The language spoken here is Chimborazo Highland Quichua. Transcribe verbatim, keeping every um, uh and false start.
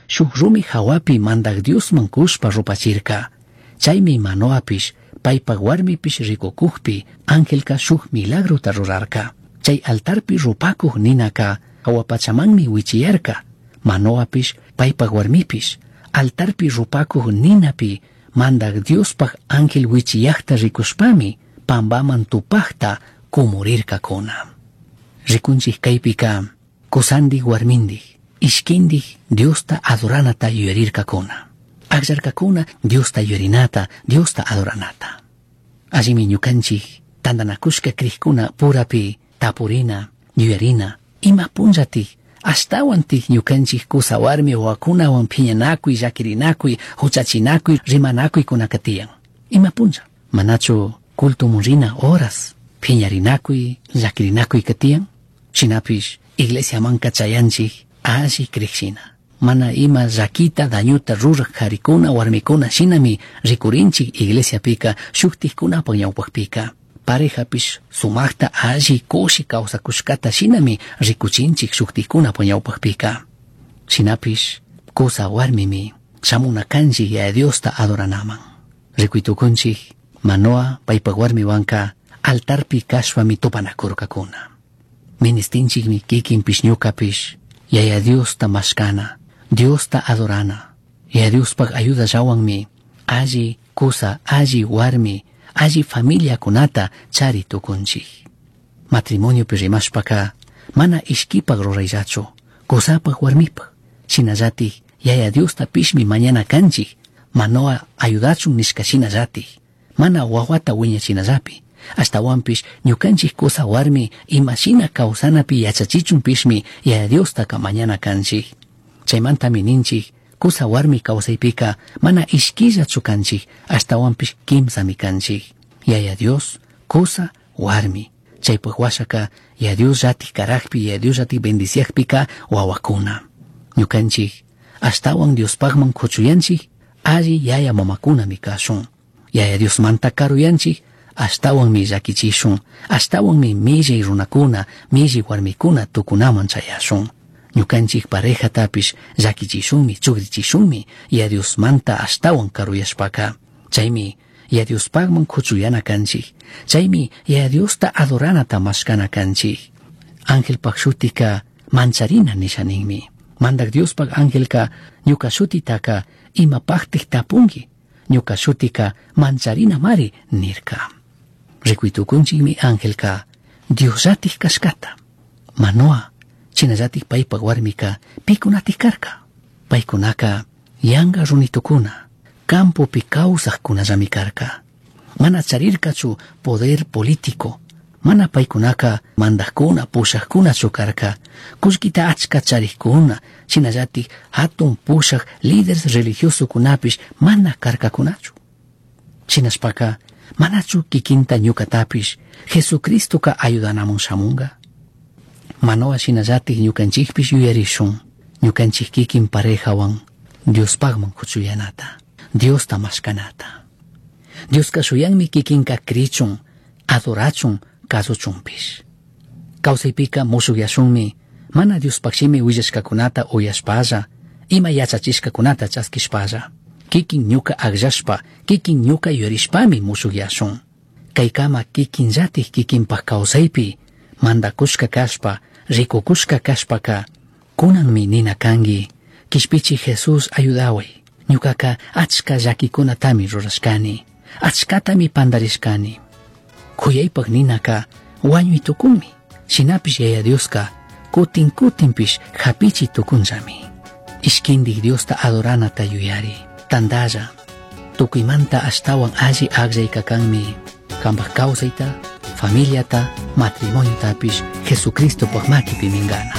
shuj rumi jahuapi Mandaj Diosman cushpa rupachirca. Chaimi Manoapish, paipaj huarmipish ricucujpi angelca shuj milagrota rurarca. Chai altarpi rupacuj ninaca jahua pachamanmi huichiyarca. Manoapish, paipaj huarmipish, altarpi rupacuj ninapi Mandaj Diospaj ángel huichiyajta ricushpami pambaman tupajta cumurircacuna. Ricunchij caipica cusandij huarmindij, ishquindij Diosta adoranata yuyarircacuna. Agllarcacuna Diosta yuyarinata, Diosta adoranata. Allimi ñucanchij tandanacushca crijcuna purapi tapurina, yuyarina, ima punllatik, ashtawantik ñucanchij cusa warmi wawakunawan phiñanakuy, llaquirinakuy, huchachinakuy, rimanakuykunaka tiyan. Ima punlla, manachu cultomun rina horas, phiñarinakuy, llaquirinakuyka tiyan? Shinapish iglesiamanka chayanchik alli crijshina. Mana ima llaquita, dañuta ruraj jarikuna, warmikuna shinami rikurinchik iglesiapika, shuktikkunapak ñawpakpika. Parejapish sumajta alli kushi kawsakushkata shinami rikuchinchik shuktikkunapak ñawpakpika. Shinapish kusa warmimi shamuna kanchik Yaya Diosta adoranaman. Rikuitukunchik Manoa paypak warmiwanka altarpi kashpami tupanakurkakuna. Ministinchikmi kikinpish ñukapish Yaya Diosta mashkana, Diosta adorana. Yaya Diospaj ayudallawanmi alli kusa, alli warmi, alli familiakunata chari tukunchik. Matrimoniopi rimashpaka mana ishkipak rurayllachu, kusapaj warmipaj. Shinallatik Yaya Diosta pishmi mañana kanchik, Manoa ayudachun nishka shinallatik, mana wawata wiñachinallapi. Ashtawanpish ñukanchik kusa warmi imashina kawsanapi yachachichunpishmi Yaya Diostaka mañana kanchik. Chaymantami ninchik kusa warmi kawsaypika mana ishkillachu kanchik, ashtawanpish kimsami kanchik. Yaya Dios, kusa, warmi. Chaypaj washaka Yaya Dios llatik karakpi, Yaya Dios llatik bendiciakpika wawakuna. Ñukanchik ashtawan Diospajman kuchuyanchik, alli yaya mamakunami kashun. Yaya Diosmanta karuyanchik, ashtawanmi llakichishun, ashtawanmi millay runakuna, millay warmikuna tukunaman chayashun. Ñukanchik parejatapish llakichishunmi, chugrichishunmi Yaya Diosmanta ashtawan karuyashpaka. Chaymi Yaya Diospajman kuchuyana kanchik. Chaymi Yaya Diosta adoranata mashkana kanchik. Angelpaj shutika mancharina nisha ninmi. Mandak Diospaj angelka ñuka shutitaka imapajtik tapunki. Ñuka shutika mancharina mari nirka. Rikuitukunchikmi angelka Diosllatik kashkata. Manoa chinallatik paypak warmika pikunatik karka. Paykunaka yanga runitukuna, campopi kawsajkunallami karka. Mana charirkachu poder político, mana paykunaka mandajkuna, pushajkunachu karka. Kullkita achka charikuna, shinallatik hatun pushaj líderes religiosokunapish mana karkakunachu. Shinashpaka manachu kikinta ñukatapish Jesucristoka ayudanamun shamunga. Manoa shinallatik ñukanchikpish yuyarishun, ñukanchik kikin parejawan Diospajman kuchuyanata, Diosta mashkanata. Dioska shuyanmi kikinka krichun, adorachun, kasuchunpish. Kawsaypika mushukyashunmi, mana Diospaj shimi willashkakunata uyashpalla, ima yachachishkakunata chaskishpalla. Kikin ñuka akllashpa, kikin ñuka yuyarishpami mushukyashun. Kaykama kikinllatik kikinpaj kawsaypi, mandakushka kashpa, rikukushka kashpaka, kunanmi nina kanki, kishpichi Jesús ayudaway. Ñukaka achka llakikunatami rurashkani, achkatami pandarishkani. Kuyaypaj ninaka wañuy tukunmi, shinapish Yaya Dioska kutin kutinpish hapichi tukunllami. Ishkindik Diosta adoranata yuyari, tandalla, tukuymanta ashtawan alli akllayka kanmi, kanpaj kawsayta, familiata, matrimoniotapis Jesucristopaj makipi mingana.